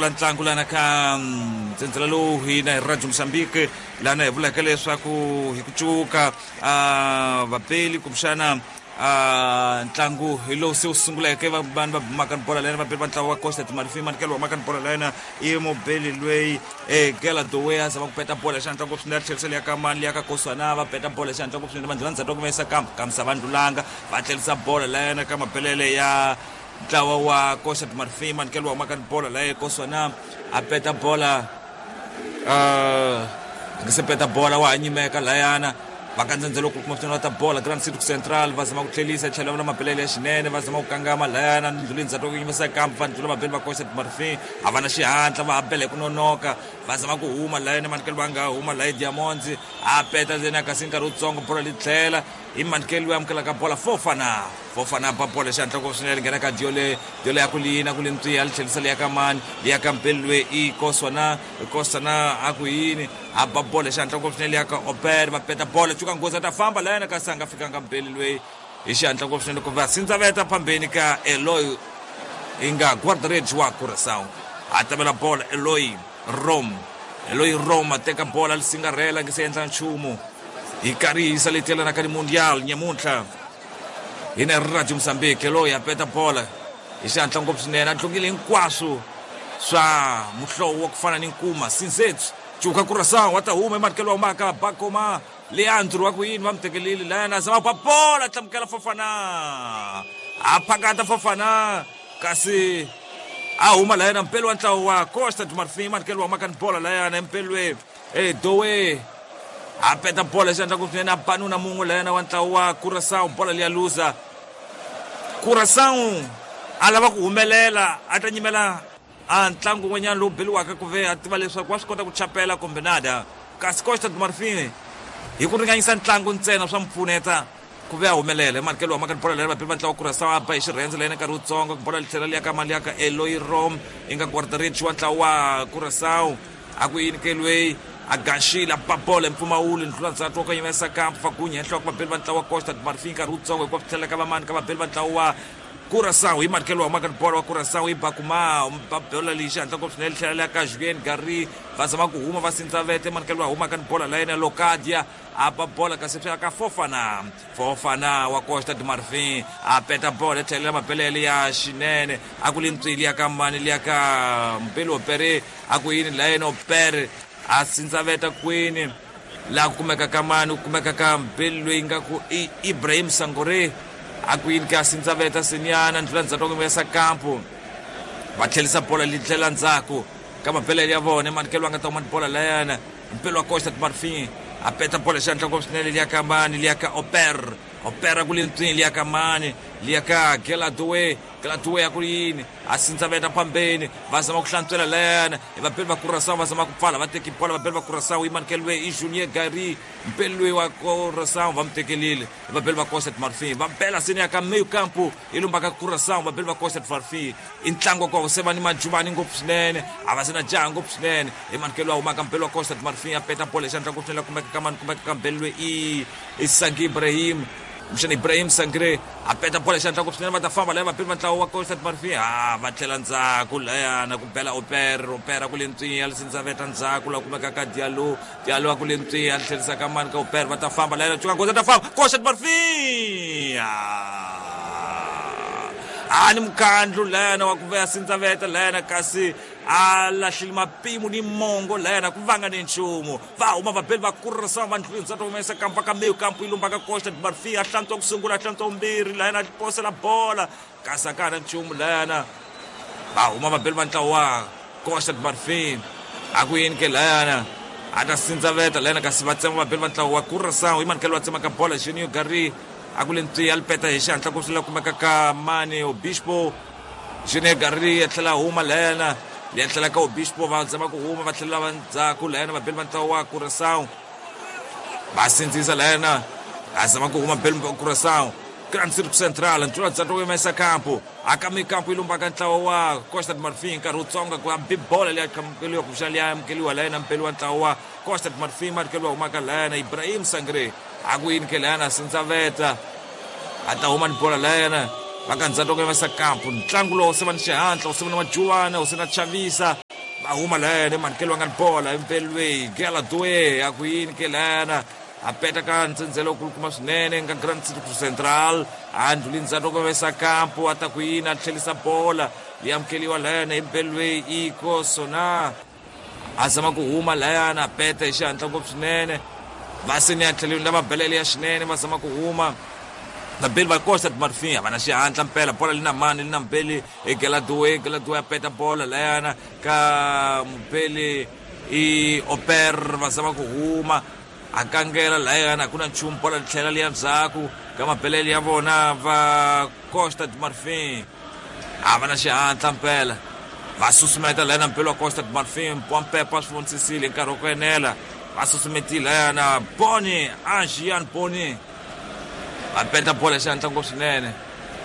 sungula ntlangu lana ka ntsendzela lowu hina hi Radio Mozambique lana hi vulaka leswaku hi ku cuka vapeli kumbexana ntlangu hi lowu se wu sunguleke vanhu va bumaka ni bola lena vapeli va ntlawa wa Costa de Marfin manikelo wa maka ni bola lena i mubeli lweyi Gela Dowe a zama ku peta bola xihatla ngopfu swinene a tlherisa liya ka mani liya ka Koswana va peta bola xihatla ngopfu swinene va ndlhula ndzhaku ku va kambe kamisa va ndlulanga va tlherisa bola lena ka mabelele ya ntlawa wa Costa de Marfin manikelo wa maka ni bola laye Koswana a peta bola a nge se peta bola wa ha nyimeka layana va ka ndzhendzelo ku kuma swinene va ta bola Grand City Central va zama ku tlhelisa tlhela va mabelele ya xinene va zama ku kangama layana ndluleni ndzhaku ku yimisa kambe va ndlula mabele va Costa de Marfin a va na xihatla va ha bela hi ku nonoka va zama ku huma layana manikelo va nga huma laye Diamonds a peta ndzeni kasi nkarhi wutsongo bola li tlhela i manikelo loyi amukelaka bola Fofana Fofana ba bola xihatla ngopfu swinene nghena ka Diole Diole ya ku lina ku li ntswiya li tlhelisa liya ka mani liya ka mpeli loyi i Koswana Koswana a ku yini a ba bola xihatla ngopfu swinene liya ka Oper va peta bola cuka nghozi a ta famba layena kasi a nga fikanga mpeli loyi hi xihatla ngopfu swinene ku va sindzaveta phambeni ka Eloy i nga guarda-redes wa Curaçao a tamela bola Eloy Rome Eloy Rome a teka bola li singarhela nge se endla nchumu hi karihisa leti yelanaka ni Mundial nyamuntlha hi na Radio Mozambique Eloy a peta bola hi xihatla ngopfu swinene a tlungile hinkwaswo swa muhlovo wa ku fana ni nkuma Sinzetsu cuka Curaçao wa ta huma ematikelo wa humaka Bakoma Leandro wa ku yini va mu tekelile layana zama ba bola tlamukela Fofana a phakata Fofana kasi a huma layana mpelo wa ntlawa wa Costa do Marfin matikelo wa humaka ni bola layana empelwe Dowe a peta bola xi endla ku swinene a banuna mun'we layana wa ntlawa wa Curaçao bola liya luza Curaçao a lava ku humelela a ta nyimela a ntlangu wun'wanyana lowu beliwaka ku ve a tiva leswaku wa swi kota ku chapela kumbe nada kasi Costa do Marfin hi ku ringanyisa ntlangu ntsena swa mu pfuneta ku ve a humelela emanikelo wa maka bola leri vapeli va ntlawa Curaçao a ba hi xirhendze layena nkarhi wutsongo bola li tlhela liya ka mali ya ka Eloy Rom i nga guarda-redes wa ntlawa wa Curaçao a ku yini ke lweyi a gaxile a ba bola hi mpfumawulo ndlula ndzhaku wa ku yimesa kampu fagunya hi nhloko vabeli va ntlawa wa Costa do Marfin nkarhi wutsongo hikuva swi tlhela ka vamani ka vabeli va ntlawa wa Curaçao hi manikelo wa humaka ni bola wa Curaçao i Bakuma ba bola leyi xihatla ngopfu swinene tlhela liya ka Julien Gary va zama ku huma va sindzavete manikelo wa humaka ni bola la yena Locadia a ba bola kasi swi ya ka Fofana Fofana wa Costa do Marfin a peta bola tlhelela mabelele ya xinene a ku li ntswili ya ka mani liya ka Mpeli Opere a ku yini la yena Opere a sindzaveta kwini laha ku kumeka ka mani ku kumeka ka Mpeli loyi nga ku i Ibrahim Sangore a ku yini ka sindzaveta sinyana ndlula ndzhaku wa ku kampu va tlhelisa bola li tlhela ndzhaku ka mabelele ya vona manikelo a nga ta huma ni bola layana Mpelo wa Costa do Marfin a peta bola xihatla ngopfu swinene liya ka mani liya ka Oper Oper ku le ntswini liya ka mani liya ka Geladowe Geladowe a ku yini a sindzaveta phambeni va zama ku hlantswela layana hi vapeli va Curaçao va zama ku pfala va teki bola vapeli va Curaçao i manikelo i Junior Gary mpeli loyi wa Curaçao va mu tekelile hi vapeli va Costa do Marfin va bela seni ya ka meio campo i lumbaka Curaçao vapeli va Costa do Marfin i ntlangu wa kona se va ni majuvani ngopfu swinene a va se na jaha ngopfu swinene hi manikelo wa humaka mpelo wa Costa do Marfin a peta bola xandla ngopfu swinene la kumeka ka mani kumeka ka mpelo loyi i Sangi Ibrahim kumbexana Ibrahim Sangre a peta bola xandla ngopfu swinene va ta famba laya vapeli va ntlawa wa Costa do Marfin ha va tlhela ndzhaku layana ku bela Oper Opera ku le ntswinya li sindzaveta ndzhaku la kumeka ka Diallo Diallo a ku le ntswinya li tlherisa ka mani ka Oper va ta famba layana cuka nghozi ta famba Costa do Marfin a ni mukhandlu layana wa ku veya sindzaveta layana kasi a lahlile mapimo ni mongo layana ku vanga ni nchumu va huma vabeli va kurisa va ndlwini ntsata humesa kampa ka meyo kampu yi lumba ka Costa do Marfin a hlantswa ku sungula a hlantswa vumbirhi layana a posela bola kasi a ka ha na nchumu layana va huma vabeli va ntlawa wa Costa do Marfin a ku yini ke layana a ta sindzaveta layana kasi va tsema vabeli va ntlawa wa Curaçao i manikelo va tsemaka bola Junior Gary a ku le ntswiya li peta hi xihatla ku swi la kumeka ka mani Obispo Junior Gary a tlhela a huma layana ya tlhela ka Obispo va zama ku huma va tlhela va ndzhaku layana vabeli va ntlawa wa Curaçao va sindzisa layana a zama ku huma beli Curaçao Grand Cirque Central ntula ndzhaku yimesa kampo akami kampo yi lumbaka ntlawa wa Costa do Marfin nkarhi wutsongo ku hambi bola leyi amukeliwa kumbexana leyi amukeliwa layana mpeli wa ntlawa wa Costa do Marfin manikeliwa humaka layana Ibrahim Sangre a ku yini ke layana sindzaveta a ta huma ni bola layana va ka ndzhaku yimesa kampo ntlangu lowu se va ni xihatla wu se va ni majuwana wu se na chavisa Va huma layana manikelo wa nga ni bola impelweni gela doe a ku yini ke layana a peta ka ntsendzelo kulukumba swinene nga Grand City Central a ndluli ndzhaku loko vesa kampo a ta ku yini a tlhelisa bola yi amukeliwa layana impelweni iko sona a zama ku huma layana a peta hi xihatla ngopfu swinene. Va se ni ya tlhelweni lava belele ya xinene va zama ku huma vabeli va Costa do Marfim a va na xihatla mpela bola li na mani li na mubeli Geladoe. Geladoe a peta bola layana ka mubeli i Oper, va zama ku huma a kangela layana, ku na nchumu, bola li tlhela li ya ndzhaku ka mabelele ya vona va Costa do Marfim. A va na xihatla mpela, va susumeta layana mpelo wa Costa do Marfim Pompepa swi vonisisile hi nkarhi wa ku enela, va susumetile layana Boni Angian Boni va peta bola xihatla ngopfu swinene.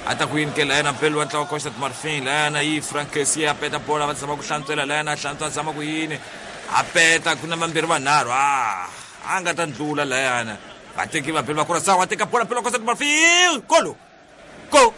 A ta ku yini ke layana mpelo wa ntlawa Costa do Marfim layana yi Frankesi a peta bola, va zama ku hlantswela layana, a hlantswa a zama ku yini a peta, ku na vambirhi vanharhu a nga ta ndlula layana. Vateki vabeli va Curaçao va teka bola, mpelo wa Costa do Marfim, golo.